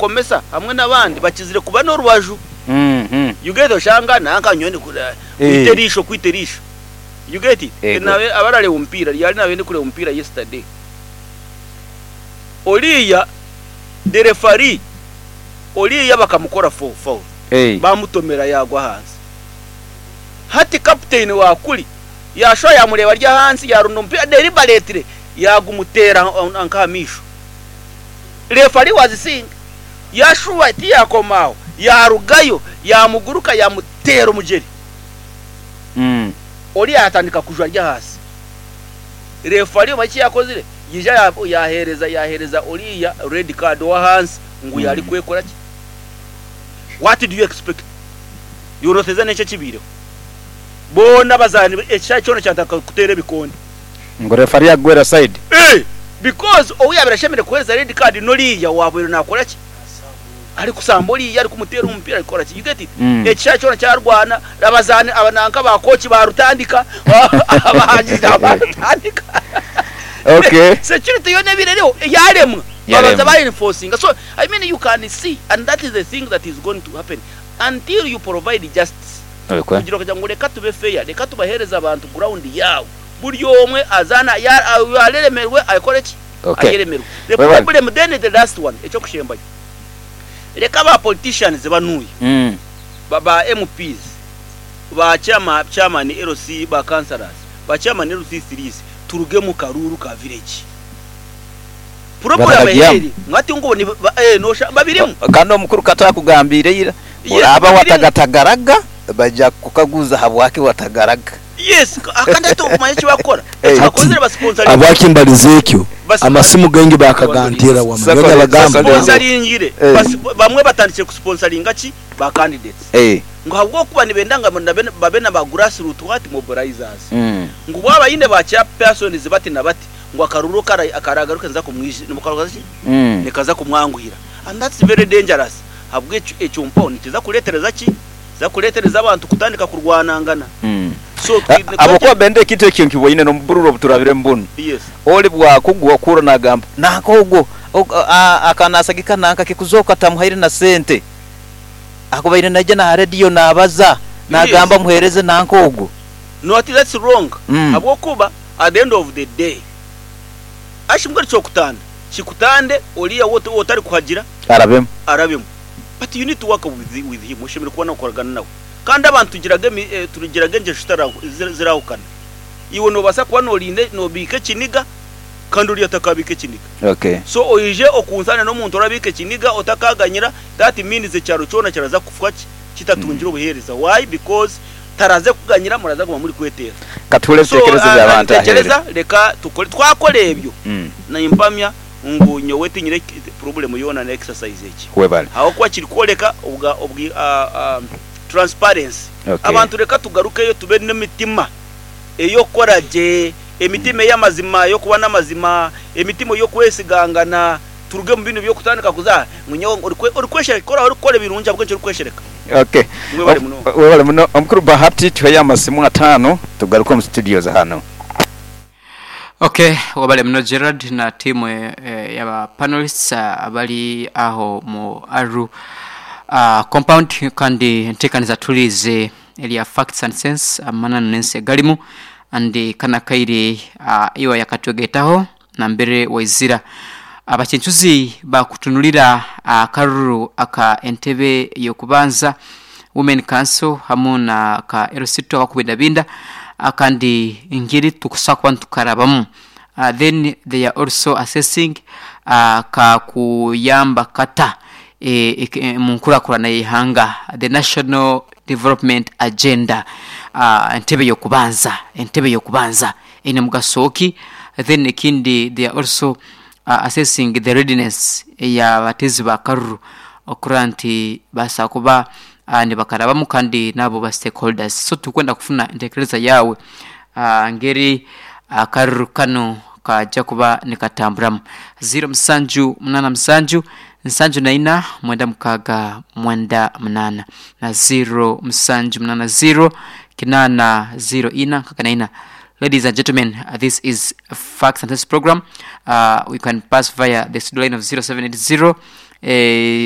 Abakomesa hamwe n'abandi bakizire kuba n'orubaju. You get oshanga nanka nyowe kwita eriisho kwita eriisho. You get it? Abarareeba omupiira ryari nabaire ndikureeba omupiira yesterday. Oriya the referee oriya bakamukora foul bamutomera yagwa ahansi. Hati captain wa kuri yashuba yamureeba ari ahansi yarunda omupiira deliberately yagumuteera nka aha maisho. Referee was seeing yashuba tiyakoma aho yarugayo yamuguruka yamuteera omugyere. Oriya yatandika kujwa ari ahansi. Referee omanye eki yakozire? Yaija yahereza yahereza oriya red card owahansi ngu yarikwekora ki? What do you expect? Iwe noteeza nenki ekibaireho? Boona abazaani ekishaayi kyona kyatandika kuteera ebikonde. Ngu referee agwera side. Eeh because ou yaabaire ashemereire kuheereza red card n'oriya owaabaire naakora ki? Arikusamba oriya arikumuteera omupiira arikukora ki? You get it? Ekishaayi kyona kyarwana, abazaani aba nanka ba coach baarutandika, abahangizi nabo baarutandika. Okay. Security yoona ebaire eriho yaaremwa. Babanza ba enforcinga. So I mean you can see and that is the thing that is going to happen until you provide justice. Kugira okagira ngu reka tube fair, reka tubaheereze abantu ground yaabo. Buri omwe azaane areremerwe akore ki? Ayeremerwe. The problem then the last one eky'okushembayo, reka ba politicians banuya, ba MPs, ba chairman LC, ba councillors, ba chairman LC threes turuge mu karuuru ka village. Problem eri ngu hati ngu babirimu. Kandi omukuru Kato akugambiire ira, oraaba watagatagaraga baija kukukaguza habwaki watagaraga. Yes, kandi hati okumanya eki bakukora, eki Hati bakozire basponsaringire. habwaki mbalize ekyo, amasimu gaingi baakaganteera wama nyowe nabagamba. Basponsaringire, bamwe batandikire kusponsaringa ki? Ba candidates. Ngu ahabw'okuba nibenda ngu babe na ba grassroot what? Mobilizers. Ngu waaba oine ba chairpersons bati na bati, ngu akaruru akaragaruke nikaza nikaza kumwanguhira. And that's very dangerous ahabw'ekyo ekyo mpaho nikiza kureetereza ki? Nikiza kureetereza abantu kutandika kurwanangana. So twine Ahabw'okuba Benda ekintu ekyo nkiboine n'omu bururu obu turabiremu bunu. Yes. Oli bwakugwa okuhurra naagamba, Nanka ogwo, akaba naasagika nanka kikuzooka tamuhaire na sente. Akubaire naija n'aha rediyo naabaza, naagamba muheereze nanka ogwo. No ati that's wrong ahabw'okuba at the end of the day ashi mbwenu kyokutanda kikutande oriya ou otari kuhagira Arabemu. arabemu but you need to work with, with him oshemereire kuba nokoragana nawe kandi abantu tugiraga emi tugiraga engyesho zirahukana iwe nobaasa kuba norinda nobiika ekiniga kandi oriya atakabiika ekiniga Okay. so oije okunsane n'omuntu orabiika ekiniga otakaganyira that means ekyaro kyona kiraza kufa ki kitatungire obuheereza why because taraze kuganyira muraza kuguma muri kweteera. Ka tuhurire So ebitekerezo by'abantu aheeru. nintekyereza reka tukore twakora ebyo nimpamya ngu nyowe tinyine problem yoona na exercise egi Webale. ahabw'okuba kiri kworeka obwa obwi transparency. Okay. Abantu reka tugarukeyo tube n'emitima ey'okukora gye, emitima ey'amazima ey'okuba n'amazima, emitima ey'okwesigangana. Turuge omu binu by'okutandika kuza ngu nyowe orikweshereka ku oraabe orikukora ebirungi ahabw'enki orikweshereka? Okay. Mwebale munonga. Webale muno. Omukuru Bahati tuheyo amasimu ataano tugaruke omu studios hanu. Ok webale muno Gerald na team yaba panelists abali agho mu Aruu compound kandi entekaniza tuliize erya facts and sense amananu nensi egalimu and kano akaire iwe ayakatwegaitaho nambere waizira. Abakincuzi baakutunulira akaruru aka entebe y'okubanza, Women Council hamu na ka LC2 akakubindabinda kandi engeri tukusobola kuba nitukarabamu. Then they are also assessing kakuyamba kata omu nkurakurana y'eihanga, the National Development Agenda. Entebe y'okubanza, entebe y'okubanza. Eine mugaso ki? Then ekindi they are also assessing the readiness eya bateezi ba karuru okurora nti basobola kuba nibakarabamu kandi naabo ba stakeholders. So turikwenda kufuna entekereza yaawe ngeri akaruru kanu kaja kuba nikatamburamu. Ziiro musanju munaana musanju, nsanju na ina, mwenda mukaaga mwenda munaana na ziiro musanju munaana ziiro, kinaana ziiro ina nkaaga na ina. Ladies and gentlemen, this is Facts and Sense program. You can pass via the studio line of 0780 eh,